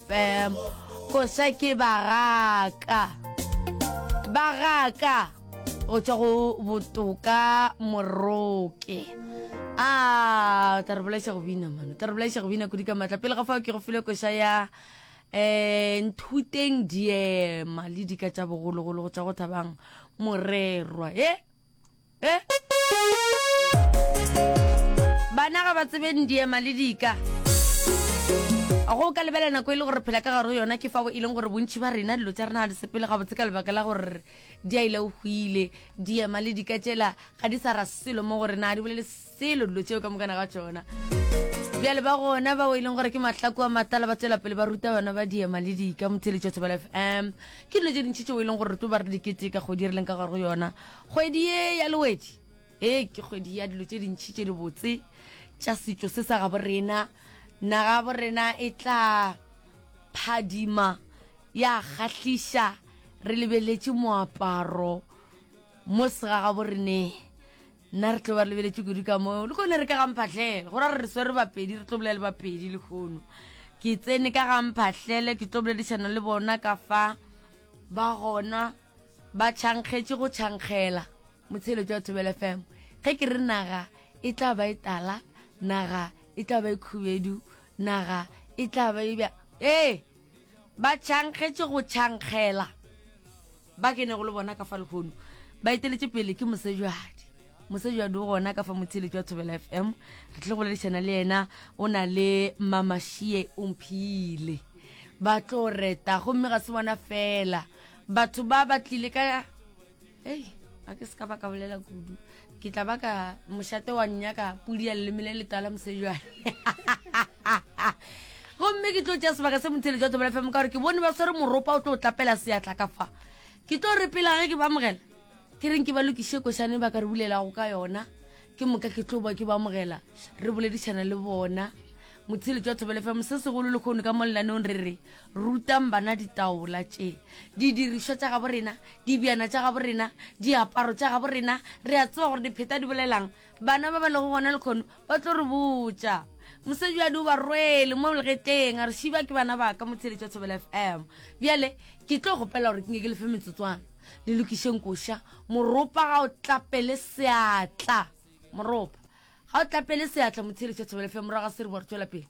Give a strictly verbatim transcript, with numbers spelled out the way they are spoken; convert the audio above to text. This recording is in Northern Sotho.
F M. Koša ke Bagaka, Bagaka go tšwa go Botoka Moroke. A tla re bolaiša go bina mano, tla re bolaiša go bina kudu ka maatla. Pele ga fao ke go file koša ya um Nthuteng Diema le Dika tša Bogologolo go tšwa go Thabang Morerwa. E e bana ga ba tsebeng diema le dika. Go ka lebela nako e le gore phela ka gare go yona, ke fao e leng gore bontši ba rena dilo tša rena ga di sepele gabotse ka lebaka la gore di a ile o hwile. Diema le dika tšela ga di sa ra selo mo go rena, ga di bolele selo dilo tšeo ka mokana ga tšona. Bjale ba gona bao e leng gore ke mahlako a matala, ba tswela pele ba ruta bana ba diema le dika. Motheletšo Thobela F M, ke dilo tše dintši tšeo e leng gore re tlo ba re dikete ka kgwedi e re leng ka gare go yona, kgwedi ye ya Lewedi. Ee, ke kgwedi ya dilo tše dintši tše dibotse tša setšo se sa gabo rena. Naga bo rena e tla phadima ya kgahliša re lebeletše moaparo mo segagabo reneng. Nna re tlo ba re lebeletše kudu ka mo le kone re ka gamphahlele go ra re re swere Bapedi, re tlo bolela le Bapedi lehono. Ke tsene ka gamphahlele, ke tlo boledišana le bona ka fa ba gona ba tšhankgetše go tšhankgela motsheletšo wa Thobela F M. Ge ke re naga e tla ba e tala, naga e tla ba e khubedu, naga e tla ba e bja, ee, ba tšhankgetše go tšhankgela. Ba kenego le bona ka fa lehono ba eteletše pele ke Mosejwadi. Mosejwadi o gona ka fa motheletši wa Thobela F M, re tle go boledišana le yena. O na le Mamašie Omphile, ba tlo reta, gomme ga se bona fela batho ba ba tlile ka. Ei, a ke se ka ba ka bolela kudu, ke tla ba ka mošate wa nnyaka pudi ya leleme le letala. Mosejwane, gomme ke tlo tšea sebaka se motheletši wa Thobela F M ka gore ke bone ba swere moropa o tlo o tlapela seatla ka fa. Ke tlo re pela ge ke ba amogela, ke reng ke ba lokiše košane ba ka re bulelago ka yona, ke moka ke tlo ba ke ba amogela, re boledišana le bona. Motheletši wa Thobela F M, se segolo le kgono ka mo lenaneong re re rutang bana ditaola tše, didirišwa tša gabo rena, dibjana tša gabo rena, diaparo tša gabo rena. Re a tseba gore dipheta di bolelang. Bana ba ba lego gona le kgono ba tlo re botša. Mosejadi o ba rwele mo legetleng, a re šiba ke bana ba ka. Motheletši wa Thobela F M, bjale ke tlo gopela gore ke nke ke lefe metsotswana le lokišeng koša. Moropa ga o tlapele seatla, moropa ga o tlapele seatla. Motheletši wa Thobela F M, morago ga se re bo re tswela pele.